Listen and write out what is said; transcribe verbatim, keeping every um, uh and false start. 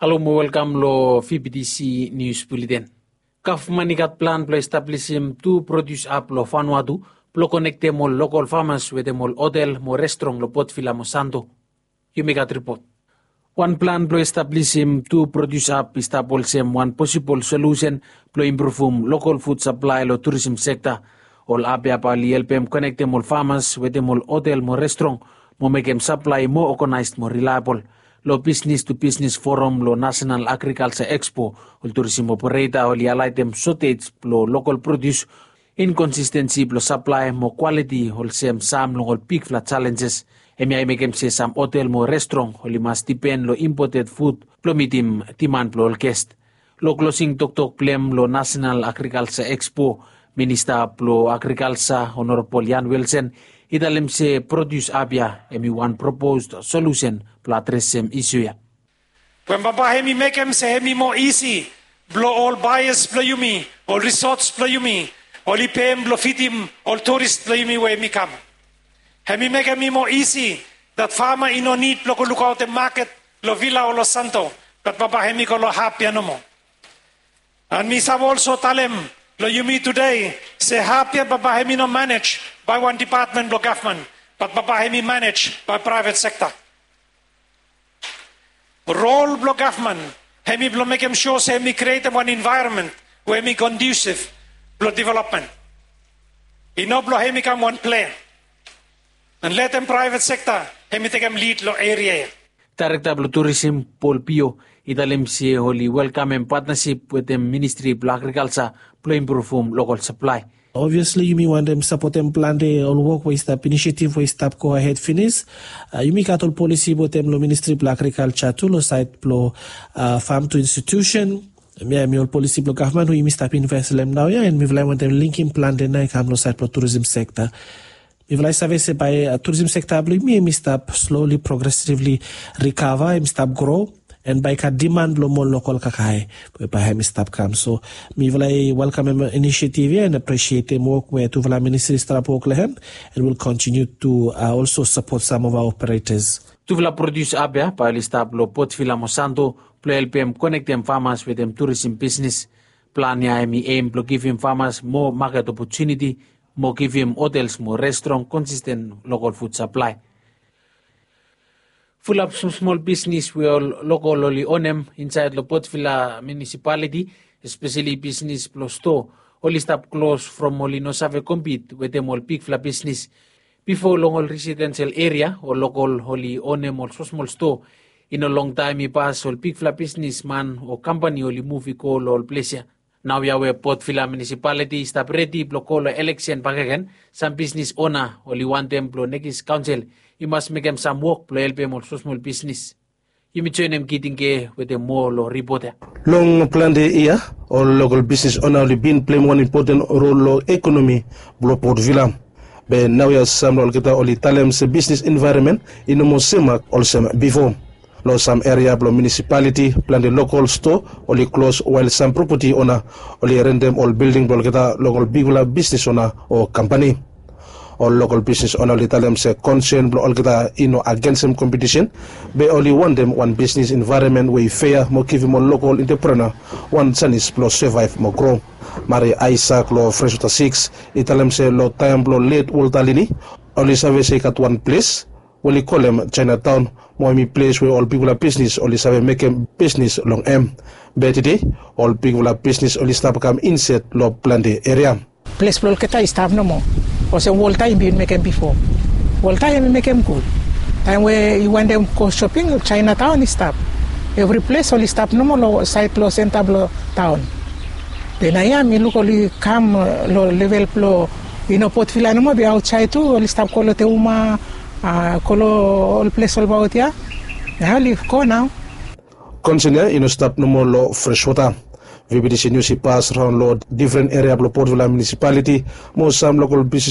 Halo mo welkam long V B T C News Bulletin. Gavman i gat plan blong establisim tu produs hab long Vanuatu blong konektem ol lokol famas wetem ol hotel mo restrong long Port Vila mo Santo. Yumi gat ripot. Wan plan blong establisim tu produs hab i stap olsem wan posibol solusen blong impruvum lokol fud saplae long turism sekta. Ol hab ya bae oli helpem konektem ol famas wetem ol hotel mo restrong mo mekem saplae moa oganaes mo rilaebol. Long Business to Business Forum long National Agriculture Expo, ol turism opereta oli haelaetem sotej blong lokol produs, inkonsistensi blong saplae mo kwaliti olsem sam long ol bigfala jalenjes. Hemia i mekem se sam hotel mo restrong oli mas dipen long impoted fud blong mitim diman blong ol gest. Long klosing toktok blong hem long National Agriculture Expo, Minista blong Agrikalsa Honorabol Ian Wilson i talem se produs hab ya hem i wan proposed solusen blong adresem isu ya. Wen bambae hem i mekem se hem i moa isi blong ol baeas blong yumi, ol risots blong yumi, oli pem blong fidim ol turis blong yumi we hem i kam. Hem i mekem i moa isi dat fama i no nid blong go lukaotem maket long Vila o long Santo, bat bambae hem i go long hab ya nomo. An mi save olso talem long yumi tude se hab ya bambae hem i no manej bae wan depatmen blong gavman, bat bambae hem i manej bae praevet sekta. Rol blong gavman hem i blong mekem sua se hem i krietem wan envaeronmen we hem i kondusif blong developmen. I no blong hem i kam wan plea an letem praevet sekta hem i tekem lid long eria ya. Daerekta blong turism Paul Pio i talem se oli welkamem patnasip wetem Ministri blong Agrikalsa blong impruvum lokol saplae. Obviasli yumi wantem sapotem plante ol wok we i stap, inisiativ we i stap go ahed finis. Yumi gat ol polisi wetem long Ministri blong Agrikalsa tu long saed blong fam tu institusen. Hemia hem i ol polisi blong gavman we yumi stap inves long hem naoia, an mifala i wantem linkim plante nao i kam long saed blong turism sekta. Mifala i save se bae turism sekta blong yumi hem i stap sloli progresivli rikava, hem i stap gro, an bae i gat diman blong moa lokol kakae we bae hem i stap kam. So mifala i welkamem inisiativ ya an apresietem wok we tufala ministri i stap wok long hem, an will kontiniu tu olso sapot sam of aoa operetas. Tufala produs hab ya bae oli stap long Port Vila mo Santo blong helpem konektem famas wetem turism bisnis. Plan ya hem i em blong givim famas moa maket opotuniti mo givim hotels mo restrong konsisten lokol fud saplae. Fulap smosmol bisnis we ol lokol oli onem insaed long Port Vila Munisipaliti, espeseli bisnis blong stoa, oli stap klos from oli no save kompit wetem ol bigfala bisnis. Bifo long ol residensel eria ol lokol oli onem ol smosmol stoa. I no longtaem i pas ol bigfala bisnisman o kampani oli muv i go long ol ples ya. Naoia we Port Vila Munisipaliti i stap redi blong go long eleksen bakegen, sam bisnis ona oli wantem blong nekis kaonsel i mas mekem sam wok blong helpem ol smosmol bisnis. Yumi joenem Giting Ke wetem moa long ripot ya. Long plante yia ol lokol bisnis ona oli bin pleim wan impoten rol long ekonomi blong Port Vila. Be naoia sam long olgeta oli talem se bisnis envaeronmen i no moa semak olsem bifo. Long sam eria blong munisipaliti plante lokol stoa oli klos wael sam propati ona oli rentem ol bilding blong olgeta long ol bigfala bisnis ona o kampani. Ol lokol bisnis ona oli talem se konsen blong olgeta i no agensem kompetisen, be oli wantem wan bisnis envaeronmen we i fea mo givim ol lokol entreprena wan janis blong sevaev mo gro. Mari Aisak long Freswota Siks i talem se long taem blong let Wolta Lini oli save se i gat wan ples we oli kolem Jaenataon, mo hem i ples we ol bigfala bisnis oli save mekem bisnis long hem. Be tede ol bigfala bisnis oli stap kam inset long plante eria. Ples blong olgeta i stap nomo olsem Wolta i bin mekem bifo. Wolta hem i mekem gud. Taem we i wantem go shoping, Jaenataon i stap. Evri ples oli stap nomo long saed blong senta blong taon. Be naoia mi luk oli kam long level blong i no Port Vila nomo, be aotsaed tu oli stap go long Teuma, go long ol ples olbaot ya. Nao oli go nao. Konsen ya i no stap nomo long Freswota. V B T C Nius i pas raon long difren eria blong Port Vila Munisipaliti mo sam lokol bisnis